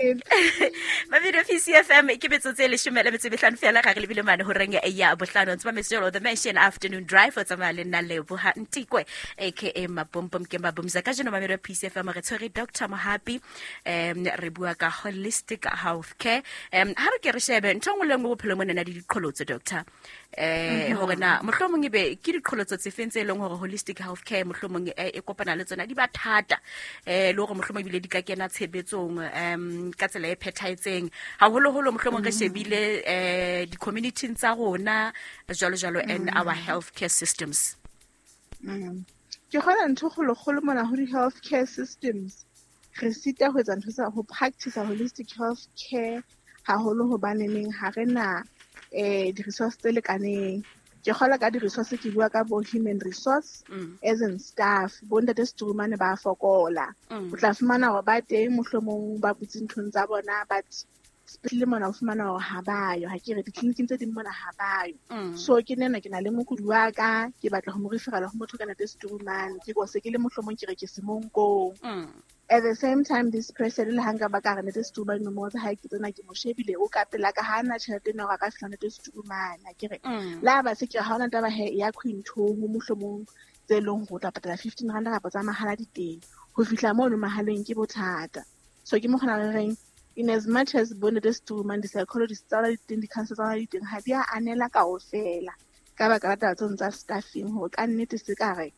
Mabidi PCFM ke metsotso e 15 fela ga re lebile mane ho reng ya bohlano. Ntse ba metsotso the Mansion Afternoon Drive o tsamaya le nna Leboha Ntikwe aka Mapompom ke Mabumza. Ka jeno Mamedi PCFM re tshwere Dr. Mohapi, re bua ka holistic health care. Ha re ke re shebe ntho nngwe le nngwe bophelong mona na le diqholotso, doctor, hore na mohlomong ebe ke diqholotso tse feng tse leng hore holistic health care mohlomong e kopana le tsona, di ba thata, le hore mohlomong ebile di ka kena tshebetsong ka tsela e phethahetseng, haholoholo mohlomong re shebile di-community tsa rona jwalo jwalo and our health care systems. Ke kgona ntho kgolo-kgolo mona ho di-health care systems, re sita ho etsa ntho tsa ho practice holistic health care haholo, hobaneneng ha re na di-resource tse lekaneng. Ke kgola ka di-resource, ke bua ka bo human resource as in staff. Bo ntate Strumane ba fokola. O tla fumana hore ba teng, mohlomong ba butse nthong tsa bona, but sepetlele mona o fumana hore ha bayo. Ha ke re ditleliniking tse ding mona ha bayo. So ke nena ke na le mokudi wa ka, ke batla ho mo referela ho motho ka ntate Strumane, ke ko se ke le mohlomong ke re ke Semonkong. At the same time, this person, le ha nka ba ka re ntate Strumane, nomoro tsa hae ke tsena, ke mo shebile, o ka pela ka, ha na tjhelete ena hore a ka fihla ntate Strumane, ha ke re le ha ba se ke re ha hona taba he ya Quinton, mohlomong tse leng hore o tla patala R15 kapa tsa mahala di teng, ho fihla mono mahaleng ke bothata. So ke mo kgona re reng, in as much as bo ntate Strumane, di-psychologist tsa rona di teng, di-counsellor tsa rona di teng, ha di a anela kaofela ka baka la taba tseno tsa staffing, hore ka nnete se ka re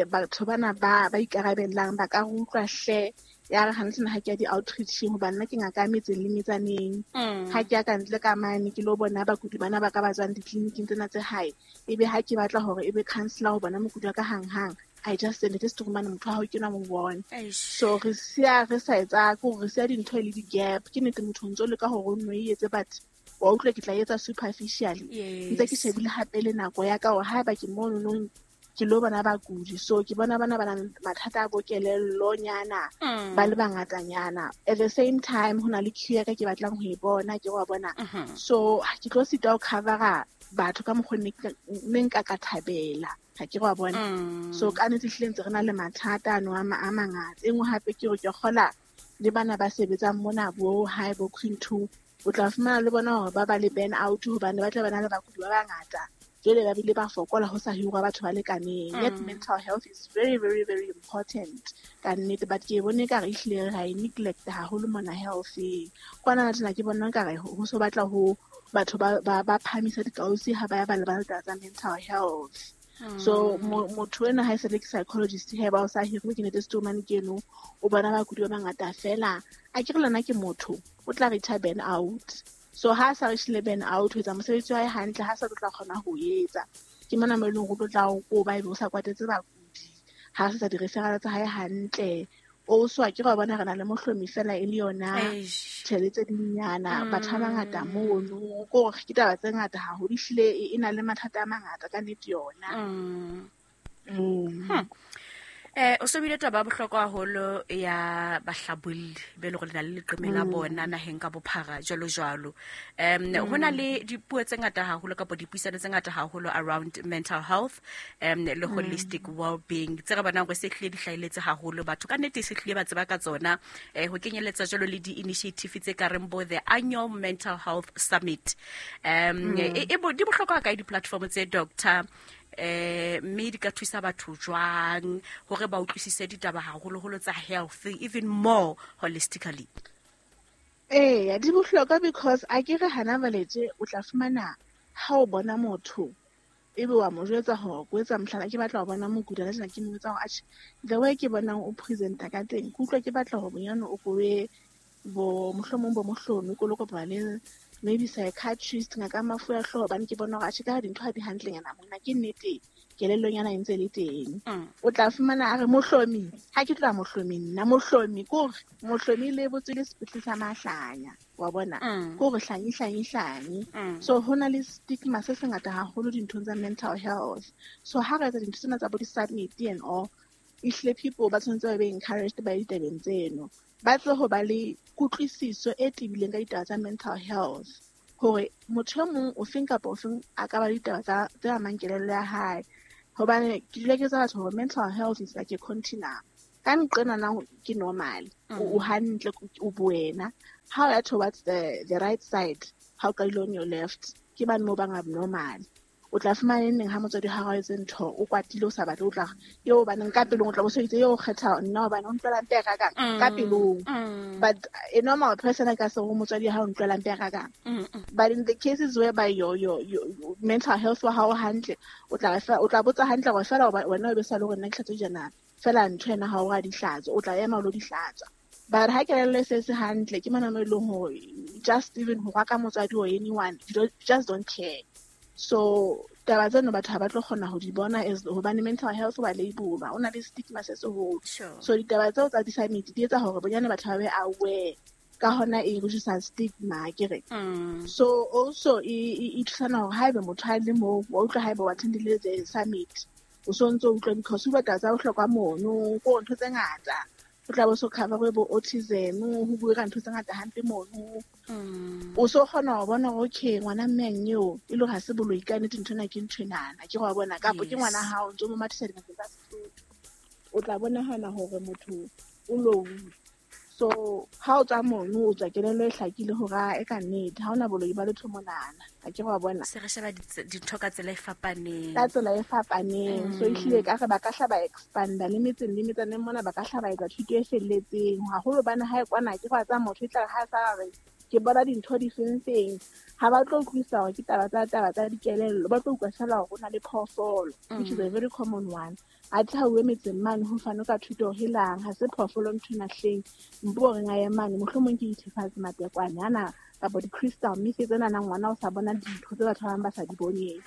batho bana ba ikarabellang ba ka re utlwa hle. Ya re hantle ha ke ya di-outreaching, hobane nna ke ngaka ya metseng le metsaneng. Ha ke ya ka ntle ka mane ke lo bona bakudi bana ba ka ba tswang ditleliniking tsena tse hae, ebe ha ke batla hore ebe counsellor ho bona mokudi wa ka hang-hang, I just send it to mane, motho wa hao ke nwa mo bone. So re siya re sa etsa, ke hore re siya dintho e le di-gap. Ke nnete motho o ntso leka hore o nno e etse, but wa utlwa ke tla etsa superficially. Ntse ke shebile hape le nako ya ka hore haeba ke mono nong ke lo bona bakudi, so ke bona bana ba nang mathata a bo kelellonyana ba le bangatanyana. At the same time ho na le queue ya ka ke batlang ho e bona, ke wa bona. So ke tlo sita ho covera batho ka mokgwa ne nka ka thabela, ha ke wa bona. So ka nnete ehlile ntse re na le mathata ano a mangata. E nngwe hape ke hore ke kgola le bana ba sebetsang mona bo hae bo Queen 2, o tla fumana le bona hore ba ba le burn out, hobane ba tla ba na le bakudi ba bangata, jwale ba bile ba fokola, ho sa hirwa batho ba lekaneng. Yet mental health is very, very, very important ka nnete, but ke bone ekare ehlile ra e neglect haholo mona health-eng. Kwana tjena ke bona ekare ho so batla ho batho ba phahamisa dikausi ha ba ya ba lebala taba tsa mental health. So motho ena ha e sa le ke psychologist, he ba o sa hirwe ke nete Strumane ke eno, o bona bakudi ba bangata fela, a ke re lena ke motho o tla reach burn out. So ha sa reach le burn out, ho etsa mosebetsi wa hae hantle, ha sa tlo tla kgona ho etsa. Ke mona mo e leng hore o tlo tla o koba, ebe o sa kwatetse bakudi, ha sa di-referral tsa hae hantle. O so ke ra bona re na le mohlomi fela e le yona tjhelete tse dinyana, batho ba bangata mono, ko hore ke taba tse ngata haholo, ehlile e na le mathata a mangata ka nnete yona. O so bile taba ya bohlokwa haholo ya bahlabolli be le hore le na le leqeme la bona naheng ka bophara jwalo jwalo. Ho na le dipuo tse ngata haholo kapa dipuisano tse ngata haholo around mental health le holistic well-being tse re bonang hore se hlile di hlahelletse haholo, batho ka nnete se hlile ba tseba ka tsona, ho kenyelletsa jwalo le di-initiative tse ka reng bo the annual mental health summit. E di bohlokwa kae di-platform tse, doctor, mme di ka thusa batho jwang hore ba utlwisise ditaba haholoholo tsa health even more holistically? Eya, di bohlokwa because a ke re hana jwale tje o tla fumana ha o bona motho ebe wa mo jwetsa hore ko etsa mohlala, ke batla ho bona mokudi hana tjena, ke mo jwetsa hore atjhe, the way ke bonang o presenta ka teng, ke utlwa ke batla hore bonyane o ko ye bo mohlomong bo mohlomi, ko lo kopana le maybe psychiatrist, ngaka ya mafu a hlooho, hobane ke bona hore atjhe, ka ha dintho ha di hantlenyana mona, ke nnete kelellonyana e ntse le teng. O tla fumana a re mohlomi, ha ke tloha mohlomi nna, mohlomi ke hore mohlomi le botswe le sepetlele sa mahlanya, wa bona? Ke hore hlanyi, hlanyi, hlanyi. So ho na le stigma se sengata haholo dinthong tsa mental health. So ha re etsa dintho tsena tsa bo di-summit and all, ehlile people ba tshwanetse ba be encouraged ba ditabeng tseno, ba tle ho ba le kutlwisiso e tebileng ka ditaba tsa mental health, hore motho e mong o feng kapa o feng a ka ba le ditaba tse amang kelello ya hae. Hobane ke dula ke tsa batho hore mental health is like a continuum. Ka nqena ke normal, o hantle o buena. Ha o ya towards the right side, ha o qadile on your left, ke bane mo bang abnormal. O tla fumana neng ha motswadi ha a etse ntho, o kwatile o sa batle, o tla eo baneng ka pelong o tla bo so itse eo kgetha nna hobane o ntlwela mpe ka ka pelong. But a normal person a ka se ho motswadi ha o ntlwela mpe ka ka. But in the cases whereby your mental health wa hao hantle, o tla botsa hantle hore fela wena o be sa le hore nna ke hlatswe jana, fela ntho ena ha o ra di hlatswa, o tla ema o lo di hlatswa. But ha kelello e se hantle, ke mona mo e leng hore just even ho rwaka motswadi or anyone, you just don't care. So taba tseno batho ha ba tlo kgona ho di bona as hobane mental health wa labelwa, o na le stigma se seholo. So ditaba tseo tsa di-summit di etsa hore bonyane batho ba be aware ka hona e reduce stigma ke re. So also e thusana hore haebe motho a le moo wa utlwa haebe wa attendile the summit, o so ntso utlwa because o batla tsa bohlokwa mono ko ntho tse ngata. O tla bo so cover bo autism, ho bua ka ntho tse ngata hampe mono. O so kgona ho bona hore okay ngwana mme eo e le ha se boloi ka nnete ntho ena ke ntho enana, ke go bona kapo ke ngwana hao ntso mo mathisa dingakeng tsa Sesotho. O tla bonahana hore motho o low. So ha o tswa mono o tswa kelello e hlakile hore e ka nnete ha ona boloi ba letho monana, ha ke go bona. Se re sheba dintho ka tsela e fapaneng. Ka tsela e fapaneng. So ehlile ka re ba ka hla ba expanda le metseng le metsaneng mona, ba ka hla ba etsa thuto e felletseng haholo bana ha e kwana ke go tsa motho e tla ha sa re ke bona dintho di feng, ha ba tlo utlwisisa hore ke taba tsa dikelello, ba tlo utlwa fela hore o na le phoofolo, which is a very common one. A tla o emetseng mane ho fano ka thuto helang, ha se phoofolo ntho ena hleng, mpo re nga mane mohlomong ke dithefatsi matekwane ana kapa di-crystal mme ke tsena nang ngwana o sa bona dintho tse batho ba bang ba sa di boneng.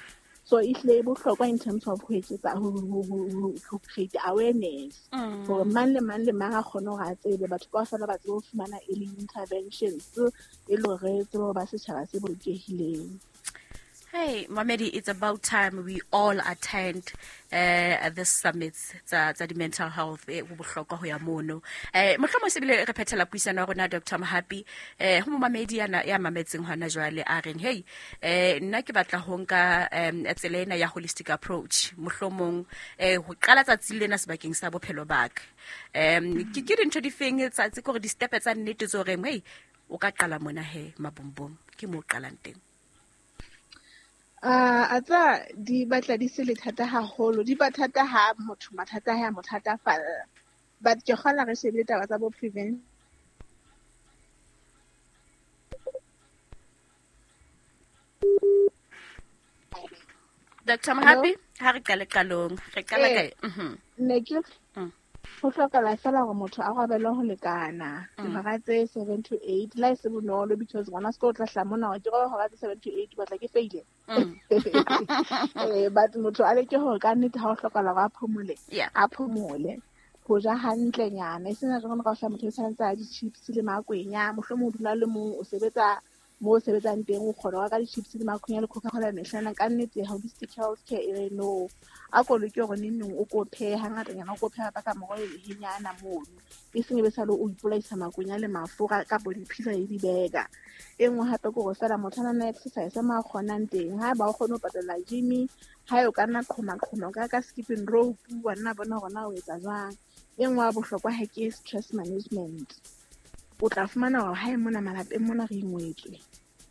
So ehlile e bohlokwa in terms of ho etsetsa ho create awareness hore mang le mang le mang a kgone hore a tsebe, batho kaofela ba tsebe ho fumana early interventions e le hore tsebe ba setjhaba se bolokehileng. Hey, Mamedi, it's about time we all attend this summits tsa di mental health ho bohlokwa ho ya mono. Mohlomong se bile re phethela puisano ya rona Dr. Mohapi, ho momamedi ya mametseng hona jwale a reng hey, nna ke batla ho nka tsela ena ya holistic approach, mohlomong ho qala tsatsi lena sebakeng sa bophelo ba ka. Ke dintho di feng tsa tse kore di step tsa nnete tso reng hey, o ka qala mona he mabombom, ke mo qalang teng? A tsa di batla di se le thata haholo, di ba thata ha motho mathata ha mothatafalla. But ke kgona re shebile taba tsa bo prevent. Dr. Mohapi, ha re qale qalong, re qala kae? Ne ke ho hlokahala fela hore motho a robele ho lekana dihora tse 7 to 8, la e se bonolo because ngwana sekolo o tla hla mona hore ke robe hora tse 7 to 8 batla ke feile. But motho a leke hore ka nnete ha o hlokahala hore a phomole, a phomole. Ho ja hantlenyana, e sena jwang ka motho o santse a di-chips le makwenya, mohlomong o dula le mong o sebetsa mo o sebetsang teng o kgona ho reka di-chips le makwenya le Coca-Cola mehlana. Ka nnete holistic health care e re no, a ko loke hore neng neng o ko phehe hangatanyana, o ko pheha ka moroho e lehenyana mono, e seng e be sale o ipolaisa makwenya le mafura kapo di-pizza le di-burger. E nngwe hape ke hore fela motho a nana exercise mo a kgonang teng, ha ba o kgone ho patala gym, ha o ka nna qhoma-qhoma, o ka ka skipping rope, wa nna bona hore na o etsa jwang. E nngwe ya bohlokwa ha ke stress management. O tla fumana hore hae mona malapeng mona re ingwetswe,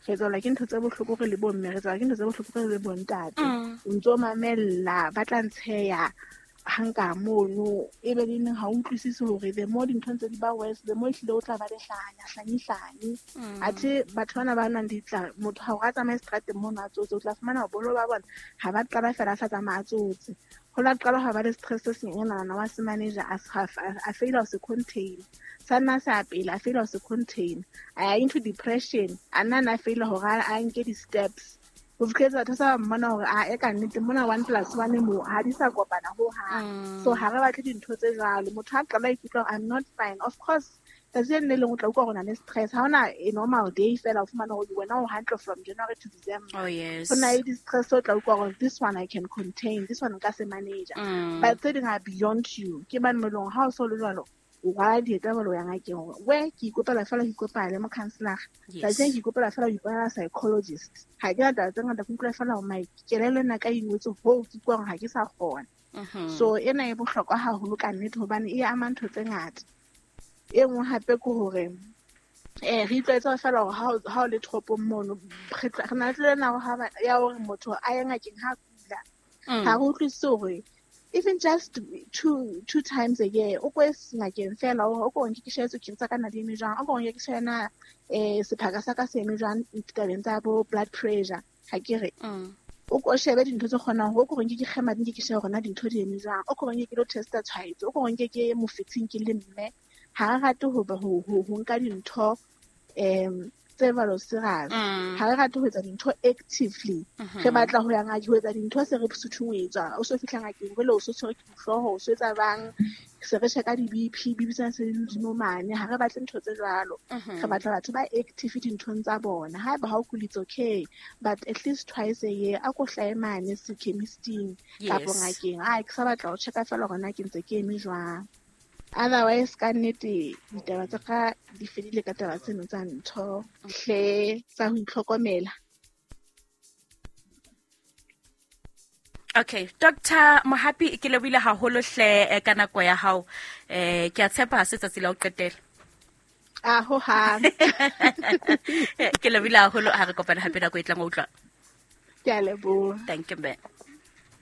re tswalwa ke ntho tse bohloko re le bomme, re tswalwa ke ntho tse bohloko re le bontate. O ntso mamella, ba tla ntsheya hanka mono, e be le neng ha o utlwisise hore the more dintho ntse di ba worse, the more ehlile o tla ba le hlanya, hlanye, hlanye. Athe batho bana ba nwang ditla, motho ha o a tsamaye seterateng mono a tsotse, o tla fumana hore boholo ba bona ha ba qala fela a sa tsamaya a tsotse. Ho la qala ha ba le stress se senyenyana wa se manager a faila ho se contain. Sa nna sa pele a faila ho se contain. A ya into depression, a nna na faila hore a nke di-steps. Ho fihletse batho sa mmona hore a e ka nnete mona 1 + 1 mo ha di sa kopana ho hang. So ha re batle dintho tse jwalo. Motho a qala ikutlwa I'm not fine. Of course, tsatsi le leng o tla utlwa hore o na le stress. Ha hona a normal day fela o fumana hore wena o hantle from January to December. Oh yes. Ho na le di-stress o tla utlwa hore this one I can contain, this one nka se manage. But tse ding are beyond you. Ke bane mo leng ha o so le jwalo, o rwala dieta ba lo ya ngakeng hore we ke ikopela fela ho ikopela le mo counselor. Tsatsi ke ikopela fela ho ipona psychologist. Ha ke na taba tse ngata, ke utlwa fela hore my kelello ena ka ingwetse hoo ke utlwa hore ha ke sa kgona. So ena e bohlokwa haholo ka nnete hobane e ama ntho tse ngata. E nngwe hape ke hore re itlwaetsa fela hore ha o le toropong mono, re na le tlwaelo ya hore motho a ye ngakeng ha kula. Ha re utlwisise hore even just two times a year o ko ngakeng fela o ko nke ke shebe tswekere tsa ka na di eme jwang, o ko nke ke shebe na sephaka sa ka se eme jwang ditabeng tsa bo blood pressure, ha ke re. O ko shebe dintho tse kgonang hore o ko nke ke kgema di ke shebe hore na dintho di eme jwang, o ko nke ke lo testa tshwaetso, o ko nke ke mofetsheng ke le mme. Ha re rate ho nka dintho tse jwalo serious. Ha re rate ho etsa dintho actively. Re batla ho ya ngakeng ho etsa dintho se re suthungwetswa. O so fihla ngakeng jwale o so tshwerwe ke dihlooho, o so etsa bang, se re checka di-BP, BP tsena se di hodimo mane. Ha re batle ntho tse jwalo. Re batla batho ba active dinthong tsa bona. Haeba ha o kula, it's okay, but at least twice a year a ko hlahe mane se-chemisting kapo ngakeng. Ai, ke sa batla ho checka fela hore na ke ntse ke eme jwang. Otherwise, ka nnete ditaba tsa ka di fedile ka taba tseno tsa ntho hle tsa ho itlhokomela. Okay, Dr. Mohapi, ke lebohile haholo hle ka nako ya hao. Ke a tshepa ha se tsatsi la ho qetela. A ho hang. Ke lebohile haholo, ha re kopana hape nako e tlang, wa utlwa. Ke a leboha. Thank you, ma'am.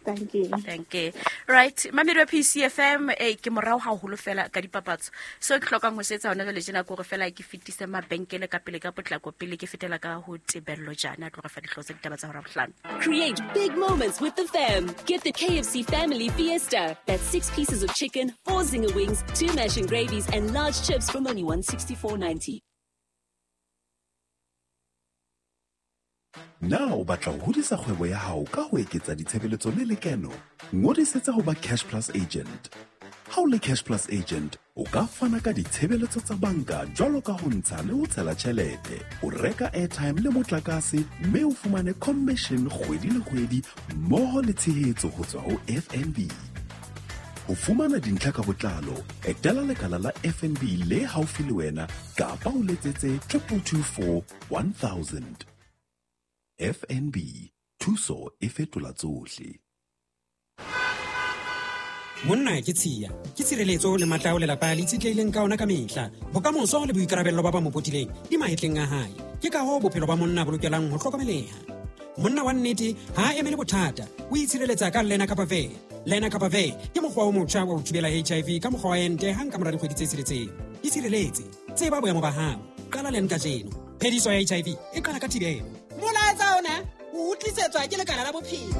Thank you. Thank you. Right, mamedi wa PCFM, ke morao haholo fela ka dipapatso. So ke hlokang ho se etsa hona jwale tjena ke hore fela ke fetise mabenkele ka pele ka potlako pele ke fetela ka ho Tebello Jana, a tlo re fa dihlooho tsa ditaba tsa hora bohlano. Create big moments with the fam. Get the KFC Family Fiesta. That's 6 pieces of chicken, 4 zinger wings, 2 mash and gravies and large chips from only $164.90. Na o batla ho hodisa kgwebo ya hao ka ho eketsa ditshebeletso le lekeno? Ngodisetsa ho ba Cash Plus agent. Ha o le Cash Plus agent, o ka fana ka ditshebeletso tsa banka jwalo ka ho ntsha le ho tshela tjhelete, o reka airtime le motlakase, mme o fumane commission kgwedi le kgwedi mmoho le tshehetso ho tswa ho FNB. Ho fumana dintlha ka botlalo, etela lekala la FNB le haufi le wena kapa o letsetse 2224 1000. FNB, thuso e fetola tsohle. Monna ke tshiya, ke tshireletso le matla ao lelapa le itshetlehileng ka ona ka mehla. Bokamoso le boikarabello ba ba mo potileng di mahetleng a hae. Ke ka hoo bophelo ba monna bo lokelang ho hlokomeleha. Monna wa nnete ha a emele bothata, o itshireletsa ka Lenacapavir. Lenacapavir ke mokgwa o motjha wa ho thibela HIV ka mokgwa wa ente hang ka mora dikgwedi tse tsheletseng. Itshireletse, tseba boemo ba hao, qala len kajeno. Phediso ya HIV e qala ka thibelo. Molaetsa ona o utlisetswa ke lekala la bophelo.